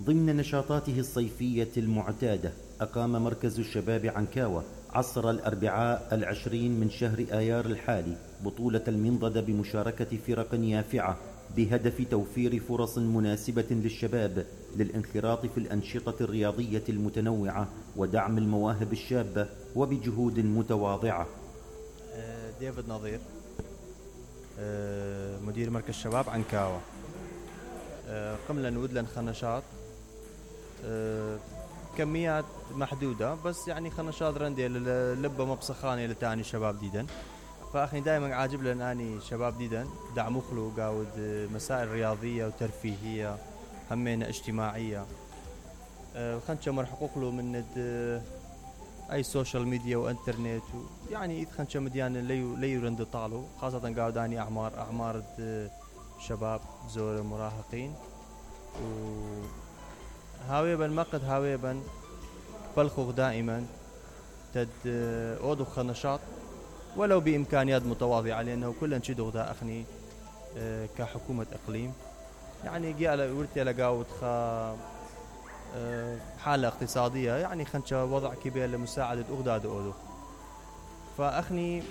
ضمن نشاطاته الصيفية المعتادة، أقام مركز الشباب عنكاوة عصر الأربعاء 20 من شهر آيار الحالي بطولة المنضدة بمشاركة فرق يافعة بهدف توفير فرص مناسبة للشباب للانخراط في الأنشطة الرياضية المتنوعة ودعم المواهب الشابة وبجهود متواضعة. ديفيد نظير، مدير مركز شباب عنكاوة. قمنا نود لنا خنشات كميات محدودة، بس يعني خنشات رندي لبة مبسخانة لتاني شباب ديدن. فأخني دائما عاجب لنا أني شباب ديدن دعم مخلو قاود مسائل رياضية وترفيهية همين اجتماعية. خنشة مرحقوق له من أي سوشيال ميديا وانترنت، يعني إذ خنشة مديان ليو رند طالو، خاصة قاود أني أعمار شباب زور مراهقين وهاويبا مقد هاويبا بلخوخ دائما تد أودو خنشاط ولو بإمكانيات متواضعة، لأنه كلن شدو دا أخني كحكومة إقليم يعني جاء ورتي لقاود حالة اقتصادية، يعني خنشة وضع كبير لمساعدة أغداد أودو. فأخني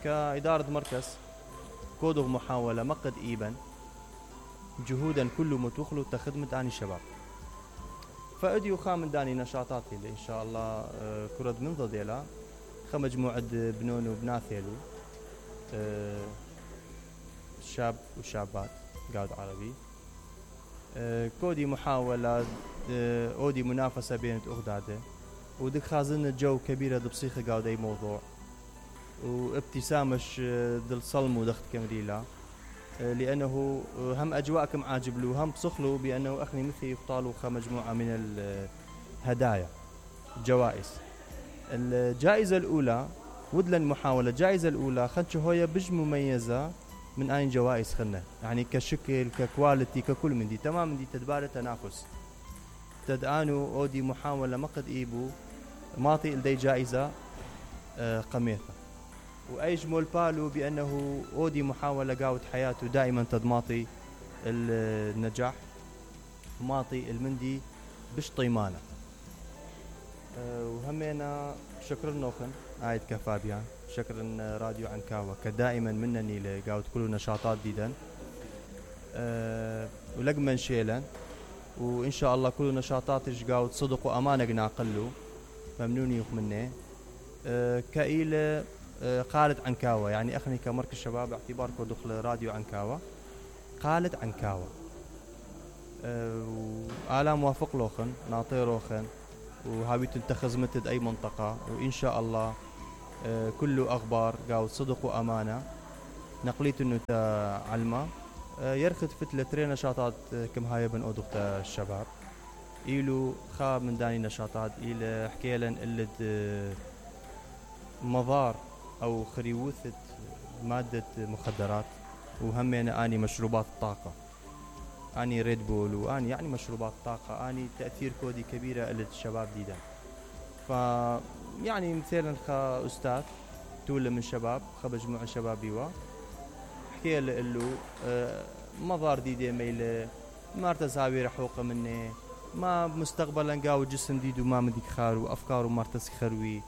كإدارة مركز كودو محاولة مقد إيبا جهودا كله متوخلو تخدمة عن الشباب. فأديو خامن داني نشاطاتي اللي إن شاء الله كرد من ضديلا خمجموعة بنون وبناثيلو شاب وشابات قاعد عربي. كودي محاولة أودي منافسة بين أغداده ودك خازن الجو كبيرة بصيخة قاعد أي موضوع وابتسامش دل صلم ودخت كمريلا، لأنه هم أجواءكم عاجب له هم بصخلوا بأنه أخني مثل يقطالوا مجموعة من الهدايا جوائز. الجائزة الأولى ودلن محاولة الجائزة الأولى خنش هوية بج مميزة من أين جوائز خلنا، يعني كشكل ككواليتي ككل من دي تمام من دي تدبار تنافس تدانو أودي محاولة مقد إيبو ماطي لدي جائزة قميثة وأيجمل بالو بأنه أودي محاولة قاوت حياته دائما تدماطي النجاح ماطي المندي بش طيمانة. وهمينا شكر نوخن عايد كفابيان، شكر راديو عنكاوة كدائما منني لقاوت كل نشاطات ديدا ولقمن شيلا، وإن شاء الله كل نشاطاتش قاوت صدق وأمانة ناقلو ممنوني يخمني كإيلة قالت عنكاوة، يعني أخني كمركز شباب اعتباركم دخل راديو عنكاوة قالت عنكاوة وآلا موافق لوخن ناطير روخن وهابي تنتخذ متد أي منطقة، وإن شاء الله كله أخبار قاوت صدق وأمانة نقليت إنه تعلمه يرخد فتلة تري نشاطات كم هاي بن أودخت الشباب إيلو خاب من داني نشاطات إلى حكيلا إلد مضار أو خريوثة مادة مخدرات، وهمينا أني مشروبات الطاقة أني ريد بول وأني يعني مشروبات طاقة أني تأثير كودي كبيرة للشباب ديدا. ف يعني مثلا أستاذ تولى من شباب مجموعة شبابيوة حكي له مضار ديدي ميلة ما ارتزاوي رحوقة مني ما مستقبلا قاو جسم ديدو ما مديك خارو أفكاره ما ارتسخروي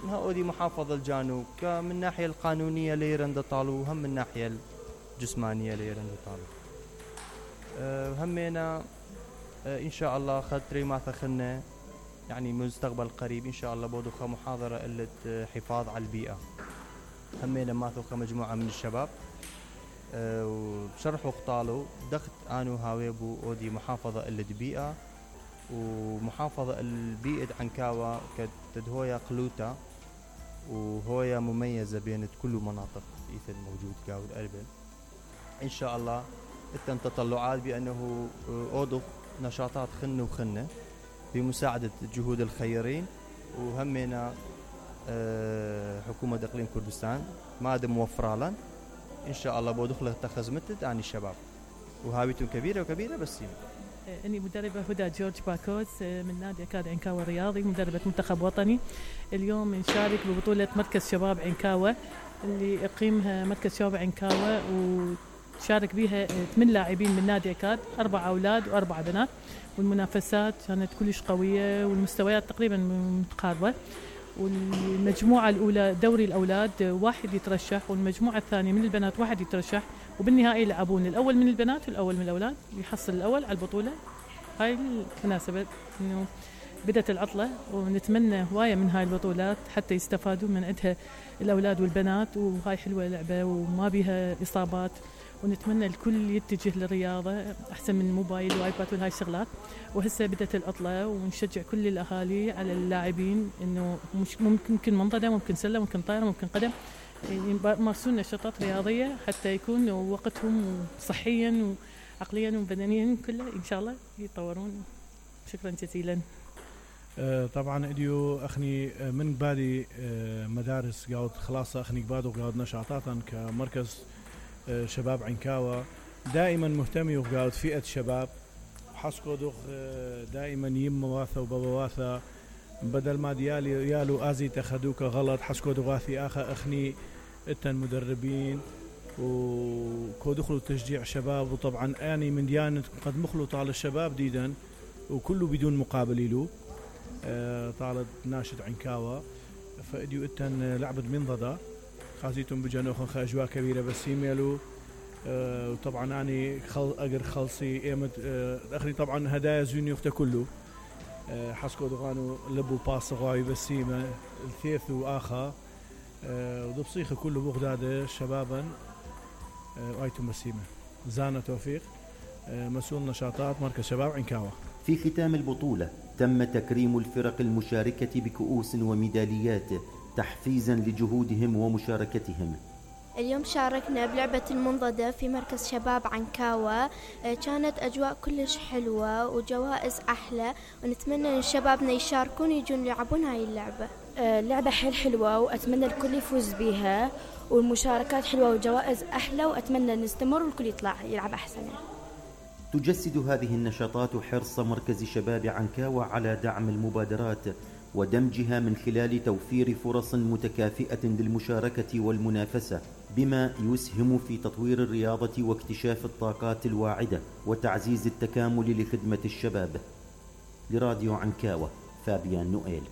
هؤلاء محافظة الجانوب من الناحية القانونية ليرند طالو هم من الناحية الجسمانية ليرند طالو. همينا إن شاء الله خطري ما ثخنا يعني مستقبل قريب إن شاء الله بودو محاضرة إلة حفاظ على البيئة. همينا ما ثخ مجموعة من الشباب وشرحوا قطالو دخت آنو هاويبو أودي محافظة إلة بيئة ومحافظة البيئة عنكاوة كتدهويا قلوتا وهويا مميزة بين كل مناطق إيث الموجود قاود أربن. إن شاء الله التن تطلعات بأنه أوضخ نشاطات خنة وخنة بمساعدة جهود الخيرين، وهمنا حكومة إقليم كردستان ما دام موفرة لنا إن شاء الله بودخل تخزمتت عن الشباب وهاويتهم كبيرة وكبيرة بس أني مدربة هدى جورج باكوس من نادي أكاد عنكاوة الرياضي، مدربة منتخب وطني. اليوم نشارك ببطولة مركز شباب عنكاوة اللي يقيمها مركز شباب عنكاوة شارك بيها 8 لاعبين من نادي أكاد، 4 أولاد و4 بنات، والمنافسات كانت كلش قوية والمستويات تقريبا متقاربة. والمجموعة الأولى دوري الأولاد 1 يترشح، والمجموعة الثانية من البنات 1 يترشح، وبالنهائي يلعبون الأول من البنات والأول من الأولاد يحصل الأول على البطولة. هاي المناسبة إنه بدأت العطلة، ونتمنى هواية من هاي البطولات حتى يستفادوا من عندها الأولاد والبنات، وهاي حلوة لعبة وما بيها إصابات، ونتمنى الكل يتجه للرياضة أحسن من الموبايل وايباد وهاي الشغلات. وهسه بدأت العطلة، ونشجع كل الأهالي على اللاعبين إنه ممكن منضدة، ممكن سلة، ممكن طايرة، ممكن قدم، يمارسون نشاطات رياضية حتى يكون وقتهم صحيا وعقليا وبدنيا كله إن شاء الله يتطورون. شكرا جزيلا. طبعا اديو اخني من بالي مدارس قاعد خلاص اخني قبادو قاعد نشاطاتا كمركز شباب عنكاوة دائما مهتمي وقاعد فئة شباب حسكو دوخ دائما يم واثا وبابا واثا بدل ما ديالي يالو ازي تخدوك غلط حسكو دغاثي اخا اخني التن مدربين وكودخلوا تشجيع شباب. وطبعا اني من ديانة قد مخلط على الشباب ديدا وكله بدون مقابل له طالت ناشد عنكاوة فاديو التن لعبة منضدة خازيتم بجنوخن اجواء كبيرة بس يميلوا وطبعا اني اقر خلصي ايمت اخري طبعا هدايا زوني وقت كله حسكو دغانو لبو باس غاي بسيمه الثيث واخا ودبصيخه كله بغداد شبابا وايتم بسيمه زانه توفيق مسؤول نشاطات مركز شباب عنكاوة. في ختام البطولة تم تكريم الفرق المشاركة بكؤوس وميداليات تحفيزا لجهودهم ومشاركتهم. اليوم شاركنا بلعبة المنضدة في مركز شباب عنكاوة، كانت أجواء كلش حلوة وجوائز أحلى، ونتمنى أن شبابنا يشاركون يجون يلعبون هاي اللعبة. اللعبة حلوة وأتمنى الكل يفوز بيها، والمشاركات حلوة وجوائز أحلى، وأتمنى نستمر والكل يطلع يلعب أحسن. تجسد هذه النشاطات حرص مركز شباب عنكاوة على دعم المبادرات ودمجها من خلال توفير فرص متكافئة للمشاركة والمنافسة، بما يسهم في تطوير الرياضة واكتشاف الطاقات الواعدة وتعزيز التكامل لخدمة الشباب. لراديو عنكاوة، فابيان نوئيل.